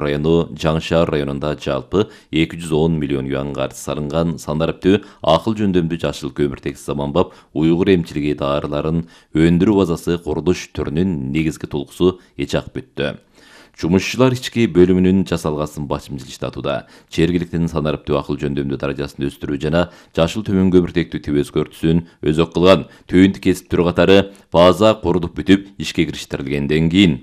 району Жаңы Шаар районунда жалпы 210 миллион юан каржы салынган санариптүү акыл жөндөмдүү жашыл көмүртек заманбап уйгур эмчилиги даарыларын өндүрүү базасы курулуш түрүнүн негизги толкусу эч ак бүттү. Жумушчулар ички бөлүмүнүн жасалгасын башымчыл иштатууда. Жергиликтин санариптүү акыл жөндөмдүү даражасын өстүрүү жана жашыл төмөн көмүртектүү тип өзгөртүүсүн өзөк кылган түйүндү кесип түрү катары база курулуп бүтүп ишке кириштирилгенден кийин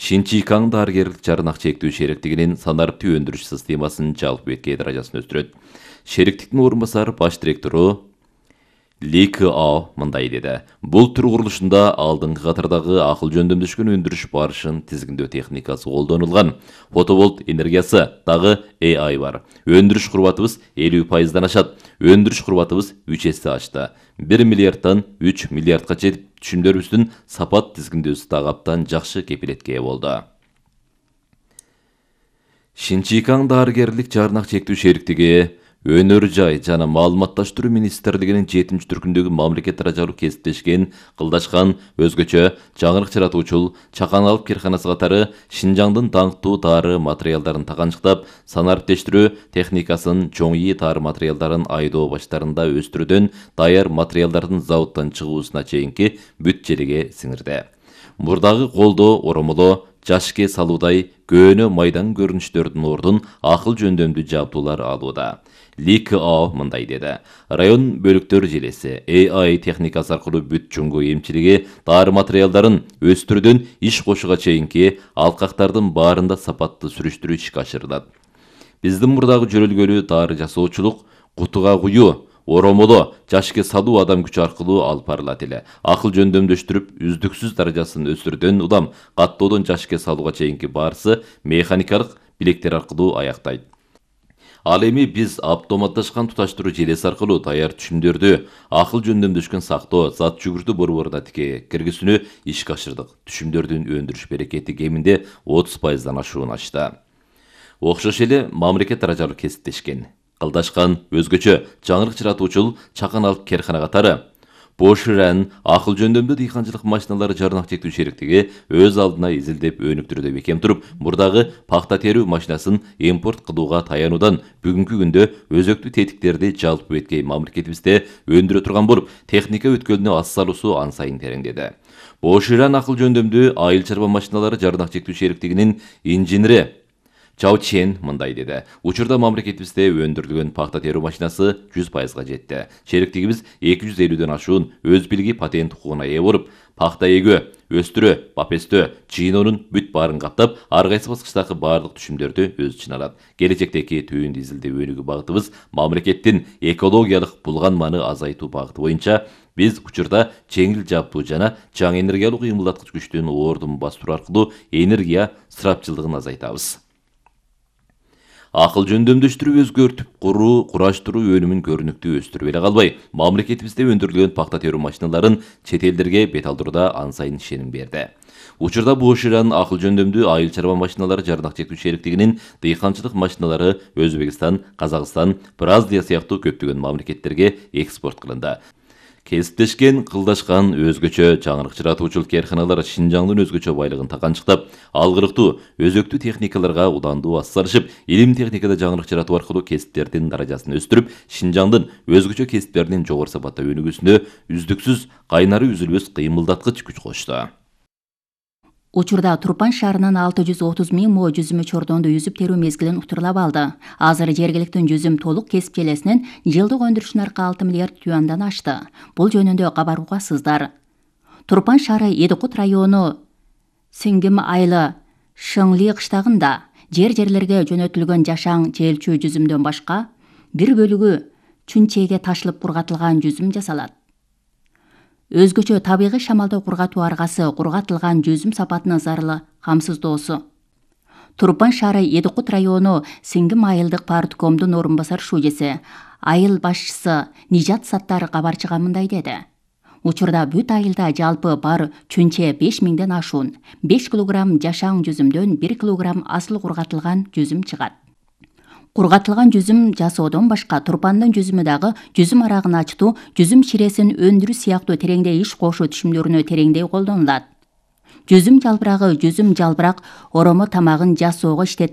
Шинчикаң дарыгерлик жарнак чектүү шериктигинин санариптүү өндүрүш системасын жалпы беткей даражасын өстүрөт. Шериктиктин орун басары баш директору Ли Као мындай деди. Бул түр курулушунда алдыңкы катардагы акыл жөндөмдөшкөн өндүрүш барышын тизгиндөө техникасы колдонулган. Фотоволт энергиясы дагы AI бар. Өндүрүш курбатыбыз 50%дан ашат. Өндүрүш курбатыбыз 3 эсе ашты. 1 миллиарддан 3 миллиардга жетип, түшүмдөрүбүздүн сапат тизгиндөөсү дагы абдан жакшы кепилетке болду. Шинчикаң дарыгерлик жарнак чектүү шериктиги Өнөр жай жана маалыматташтыруу министрлигинин 7-түркүндөгү мамлекет даражалуу кесиптешкен кылдашкан өзгөчө жаңырык чыратуучул Чакан алып керканасы катары Шинжаңдын даңктуу дары материалдарын таганчыктап, санариптештирүү техникасын чоң ийи дары материалдарын айдоо баштарында өстүрүүдөн даяр материалдардын заводдон чыгуусуна чейинки бүт желеге сиңирди. Мурдагы колдоо оромоло жашке салуудай көөнө майдан көрүнүштөрдүн ордун акыл жөндөмдүү жабдуулар алууда. Ли Као мындай деди. Район бөлүктөр желеси AI техникасы аркылуу бүт чоңгу эмчилиги дары материалдарын өстүрүүдөн иш кошууга чейинки алкактардын баарында сапаттуу сүрүштүрүү ишке ашырылат. Биздин мурдагы жөрөлгөлүү дары жасоочулук кутуга куюу, оромоло жашке салуу адам күчү аркылуу алып барылат эле. Акыл жөндөмдөштүрүп, үздүксүз даражасын өстүрүүдөн улам каттоодон жашке салууга чейинки баарысы механикалык билектер аркылуу аяктайт. Ал эми биз автоматташкан туташтыруу желеси аркылуу даяр түшүмдөрдү акыл жөндөмдөшкөн сактоо, зат жүгүртүү борборуна тике киргизүүнү ишке ашырдык. Түшүмдөрдүн өндүрүш берекети кеминде 30%дан ашуун ачты. Окшош эле мамлекет даражалуу кесиптешкен кылдашкан өзгөчө жаңырык чыратуучул Чакан алып керкана катары Боширан акыл жөндөмдүү дыйканчылык машиналары жарнак чектүү шериктиги өз алдына изилдеп өнүктүрүүдө бекем туруп, мурдагы пахта терүү машинасын импорт кылууга таянуудан бүгүнкү күндө өзөктүү тетиктерди жалпы беткей мамлекетибизде өндүрө турган болуп, техника өткөлүнө ас салуусу ан сайын тереңдеди. Боширан акыл жөндөмдүү айыл чарба машиналары жарнак чектүү шериктигинин инженери Чао Чен мындай деди. Учурда мамлекетибизде өндүрүлгөн пахта терүү машинасы 100%га жетти. Шериктигибиз 250дөн ашуун өз билги патент укугуна ээ болуп, пахта эгөө, өстүрүү, бапестөө, жыйноонун бүт баарын каптап, ар кайсы баскычтагы баардык түшүмдөрдү өз ичине алат. Келечектеги түйүндү изилдөө өнүгүү багытыбыз мамлекеттин экологиялык булганманы азайтуу багыты боюнча биз учурда жеңил жабдуу жана жаңы энергиялык уюмдаткыч күчтүн ордун бастыруу аркылуу энергия ысырапчылдыгын азайтабыз. Акыл жөндөмдөштүрүп өзгөртүп кураштыруу өнүмүн көрүнүктүү өстүрүп эле калбай, мамлекетибизде өндүрүлгөн пахта терүү машиналарын чет элдерге бет алдырууда ан сайын ишеним берди. Учурда Боширан акыл жөндөмдүү айыл чарба машиналары жарнак чектүү шериктигинин дыйканчылык машиналары Өзбекстан, Казакстан, Бразилия сыяктуу көптөгөн мамлекеттерге экспорт кылынды. Кесиптешкен кылдашкан өзгөчө жаңырык чыратуучул керканалар Шинжаңдын өзгөчө байлыгын таганчыктап, алгырыктуу, өзөктүү техникаларга уландуу ас салышып, илим техникада жаңырык чыратуу аркылуу кесиптердин даражасын өстүрүп, Шинжаңдын өзгөчө кесиптеринин жогору сапатта өнүгүүсүнө үздүксүз кайнары үзүлбөс кыймылдаткыч күч кошто. Учурда Турпан шаарынан 630 000 мо жүзүмө чордонду үзүп терүү мезгилин утурлап алды. Азыр жергиликтин жүзүм толук кесип желесинин жылдык өндүрүшүнүн аркы 6 миллиард юандан ашты. Бул жөнүндө кабар угасыздар. Турпан шаары Эдикут району Сиңгим айылы Шыңли кыштагында жерлерге жөнөтүлгөн жашаң желчүү жүзүмдөн башка бир бөлүгү чүнчеге ташылып кургатылган жүзүм жасалат. Өзгөчө табигый шамалдоо кургатуу аргасы кургатылган жүзүм сапатынын зарылы камсыздоосу. Турпан шаары Эдикут району Сиңгим айылдык парткомдун орун басар шужеси, айыл башчысы Нижат Саттар кабарчыга мындай деди. Учурда бүт айылда жалпы бар чүнче 5000ден ашуун, 5 килограмм жашаң жүзүмдөн 1 килограмм асыл кургатылган жүзүм чыгат. Кургатылган жүзүм жасоодон башка Турпандын жүзүмү дагы жүзүм арагын ачтуу, жүзүм чиресин өндүрүү сыяктуу тереңдей иш кошуу түшүмдөрүнө тереңдей колдонулат. жүзүм жалбырагы жүзүм жалбырак оромо тамагын жасоого иштетилет.